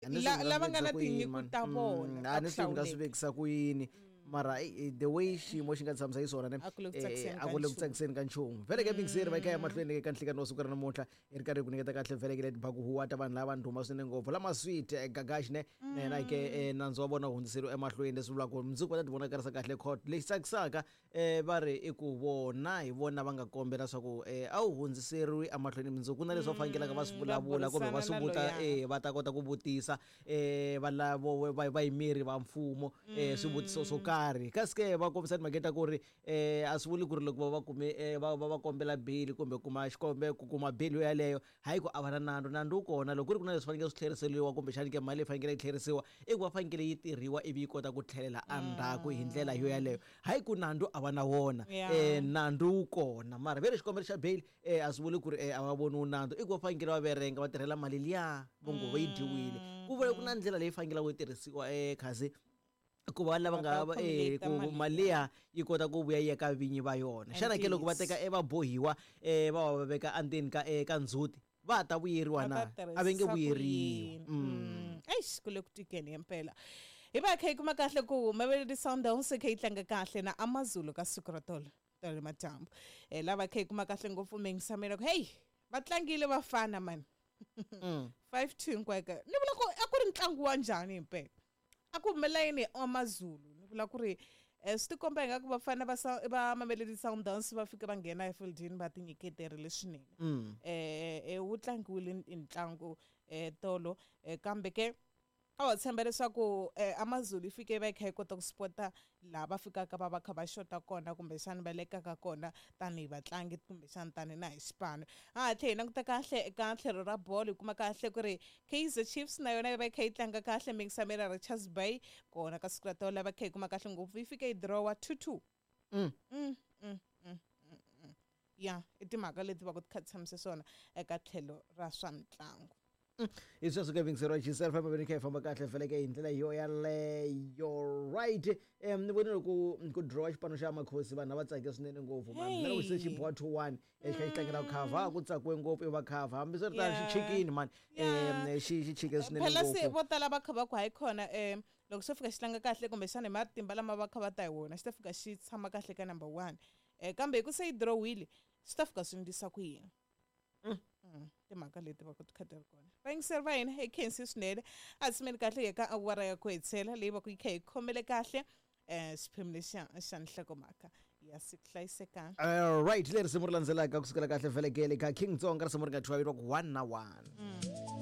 Lava nga na tinyiko ta vona a ni swi nga swi vekisa ku yini, mara the way xiyimo xi nga tshamisa xiswona ne, A ku le ku tsakiseni a ka ku le ku nchumu. Tsakiseni ka nchumu. Vhele ke mingiseri va kha ya mahlweni ka nhlikani wa siku ra namuntlha, hi ri karhi hi ku nyiketa kahle vhele ke leti baku huwa ta vanhu lava ndhuma swinene ngopfu lama sweet Gagash ne na yena ke nandzu wa vona wu hundziseriwe emahlweni, leswi vulaka ku mundzuku va ta ti vonakarisa kahle court. Lexi tsakisaka va ri i ku vona hi vona va nga kombela swa ku a wu hundziseriwi emahlweni mundzuku, ku na leswi va fanekelaka va swi va vulavula kumbe va swi burisana na vuta loya. Va ta kota ku vutisa va lavo va vayimeri va mfumo swivutiso swo karhi. Kasi ke va kombisa timhaka ta ku ri a swi vuli ku ri loko va va kume va kombela bail kumbe kuma xikombe ku kuma bail yo yaleyo, hayi ku a va na nandzu. Nandzu wu kona loko ku ri ku na leswi fanekele swi tlheriseriwa, kumbexani ke mali leyi fanekele yi tlherisiwa, i ku va fanekele yi tirhiwa ivi yi kota ku tlhelela endzhaku hi ndlela yo yaleyo, hayi ku nandzu a va na wona. Nandzu wu kona, mara ve ri xikombelo xa bail a swi vuli ku ri a va voniwi nandzu, i ku va fanekele va verenga va tirhela mali liya vo ngo va yi dyiwile. Ku vula ku na ndlela leyi fanekele yi tirhisiwa kasi ku va lava Va nga ta accumulate ku mali mali liya yi kota ku vuya yi ya ka vinyi va yona. Xana ke loko va Ntiyiso. teka vabohiwa va va va veka endzeni ka ndzhuti, va ta vuyeriwa Va na ta a va nge tirhisisa ku vuyeriwi? yini? Eish, ku le ku tikeni himpela. Hi va kha hi kuma kahle ku Mamelodi Sundowns yi kha yi tlanga kahle na AmaZulu ka siku ra tolo tolo madyambu. Lava kha hi kuma kahle ngopfu mingisamela ku hey, va tlangile vafana mani. 5-2 hinkwayo ka. Ni vula ku a ku ri ntlangu wa njhani himpela? A ku humelela yini hi AmaZulu? Ni vula ku ri swi tikomba ingaku vafana va Mamelodi Sundowns va fika va nghena efieldini va tinyiketerile swinene. Wu tlangiwile ntlangu tolo, kambe ke a wa tshemba leswaku AmaZulu yi fike va yi kha yi kota ku spota laha va fikaka va va kha va xota kona, kumbexana va lekaka kona tanihi vatlangi, kumbexana tanihi na hi xipano. Ha ha tlhe hi languta kahle eka tlhelo ra bolo, hi kuma kahle ku ri Kaizer Chiefs na yona yi va yi kha yi tlanga kahle mingisamela Richards Bay kona ka siku ra tolo, va kha hi kuma kahle ngopfu yi fike yi drawa 2-2. Ya, i timhaka leti va ku ti kha ti tshamise swona eka tlhelo ra swa mitlangu. Hi sweswo ke vingiseriwa Gisel famba veni kha hi famba kahle vhele ke hi ndlela yo yaleyo. Right, ni vonile ku ku drawa xipano xa Makhosi, vanhu a va tsake swinene ngopfu man. Na loko se xi boha 2-1, xi kha xi tlangela ku cover, ku tsakiwe ngopfu i va cover, hambiswiritano xi chikini man. Xi chike swinene Phela se ngopfu. Vo tala va kha va ku hayi khona, loko xo fika xi tlanga kahle, kumbexana hi matimba lama va kha va ta hi wona, xi ta fika xi tshama kahle ka number 1, kambe hi ku se yi drawile, swi ta fika swi ndlisa ku yini? Timhaka leti va ku ti kha ti ri kona. Vayingiseri va hina, hi khensi swinene, a tshimeli kahle hi ka awara ya ku hetisela leyi va ku yi kha hi khomele kahle xiphemu lexiya xa nhlokomhaka ya siku. Hlayisekani. All right, leri risimu ri landzelaka kusukela kahle vhelekele ka King Tsonga, risimu ri nga thyiwa vito ku 1 na 1.